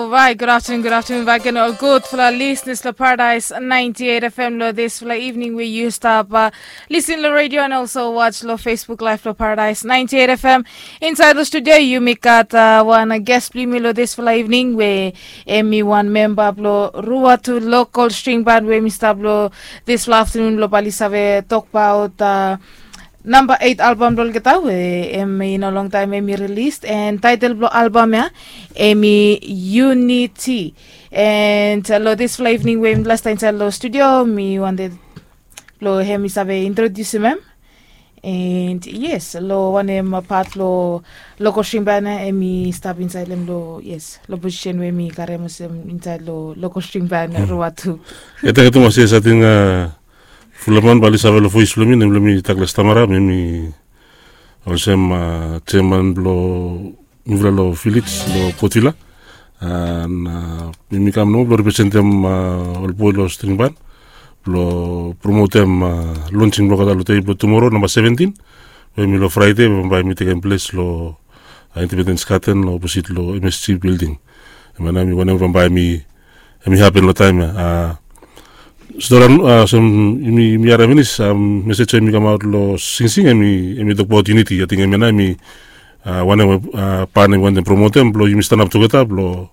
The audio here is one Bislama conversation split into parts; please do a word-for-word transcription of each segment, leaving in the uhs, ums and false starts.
Right, good afternoon, good afternoon back again. All good for our listeners, lo Paradise ninety-eight F M, lo this for evening where you stop uh, listen lo radio and also watch lo Facebook Live lo Paradise ninety-eight F M. Inside the studio, you make got uh, one uh, guest bli mi lo this for evening where Emi one member blo Ruatu local string band where mi stop lo this for afternoon lo bali save talk about uh, namba eight album blo olgeta we em i no long taem em i release, and title blo album ya em i Unity. And uh, lo this fla evening we em last time inside lo studio mi wanted lo em i save introduce em. And yes, lo wanem part lo local string band em i stap inside lem lo, yes, lo position we em i karem olsem inside lo local string band Ruatu. Eta ketu mas yes, ating uh, Fulaman bali save lo voice blo mi, nem blo mi Douglas Tamara, mi mi olsem uh, chairman blo mifala lo village lo Port Vila. And uh, mi mi kam nomo blo representem uh, ol boe lo string band blo promotem uh, launching blo olgeta lo dei blo tumoro namba seventeen. We mi lo Friday bambae mi tekem ples lo uh, Independence Garden lo opposite lo M S G building. Em ya nao mi wanem bambae mi em i hapen lo taem ya. Stora olsem yumi harem finis mesej we yumi kamaot lo singsing em i tokbaot unity. Ating em ya nao em i wanem we pan em i wantem promotem blo yumi stanap tugeta blo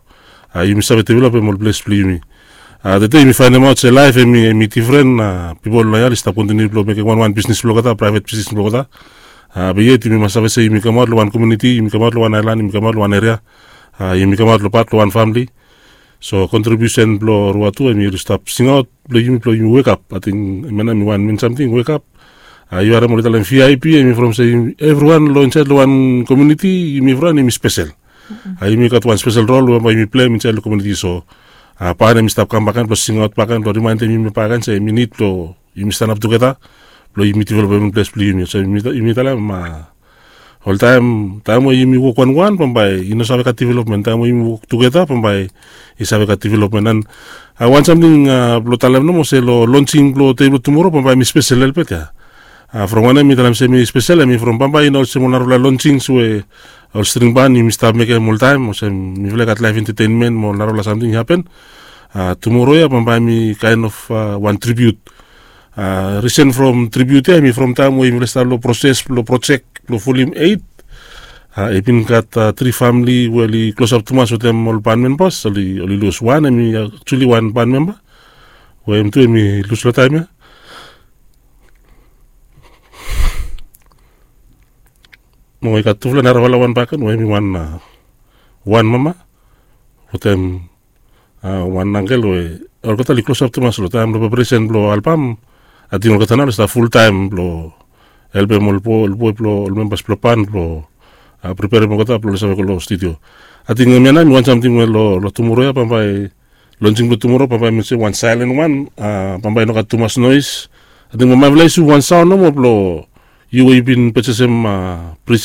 yumi save developem ol ples blo yumi. Tede yumi faenemaot se laef em i difren. Pipol long ya oli stap kontiniu blo mekem wanwan bisnis blo olgeta, praevet bisnis blo olgeta. Be yet yumi mas save se yumi kamaot lo wan komuniti, yumi kamaot lo wan aelan, yumi kamaot lo wan eria, yumi kamaot lo pat lo wan famili. So kontribiusen blo Ruatu em i oli stap singaot blo yumi blo yumi wekap. Ating em ya nao em i wan min samting, wekap. Yu harem oli talem V I P em i from se evriwan lo insaed lo wan komuniti yumi evriwan yumi spesel. Yumi gat wan spesel rol we bae yumi pleim insaed lo komuniti. So pan em i stap kam bakegen blo singaot bakegen blo rimaendem yumi bakegen se yumi nid blo yumi stanap tugeta blo yumi developem ples blo yumi. So yumi talem oltaem taem we yumi wok wanwan bambae i no save gat developmen. Taem we yumi wok tugeta bambae i save gat developmen. And wan samting blo talem nomo se lo launching blo dei blo tumoro bambae em i spesel helpet ya. From wanem mi talem se em i spesel, em i from bambae i no olsem ol narafala launchings we ol string band yumi stap mekem oltaem olsem mifala i gat laef entetenmen mo ol narafala samting i hapen. Tumoro ya bambae em i kaen of wan tribiut. Risen from tribiut ya em i from taem we yumi stap lo proses blo projek blo volim eit. I bin gat tri famili we oli klosap tumas wetem ol ban membas, oli lus. Wan em i aktuali wan ban memba we em tu em i lus lo taem ya. Mo i gat tufala narafala wan bakegen we em i wan wan mama wetem wan angkel we olgeta oli klosap tumas lo taem blo preparesen blo albam. Ating olgeta nao oli stap fultaem blo helpem ol boe blo ol membas blo ban blo preparem olgeta blo oli save go lo studio. Ating em ya nao em i wan samting we lo tumoro ya bambae launching blo tumoro bambae mi se wan saelen wan. Bambae i no gat tumas noes. Ating bambae mifala i suv wan saon nomo blo yu we yu bin pejasem preset.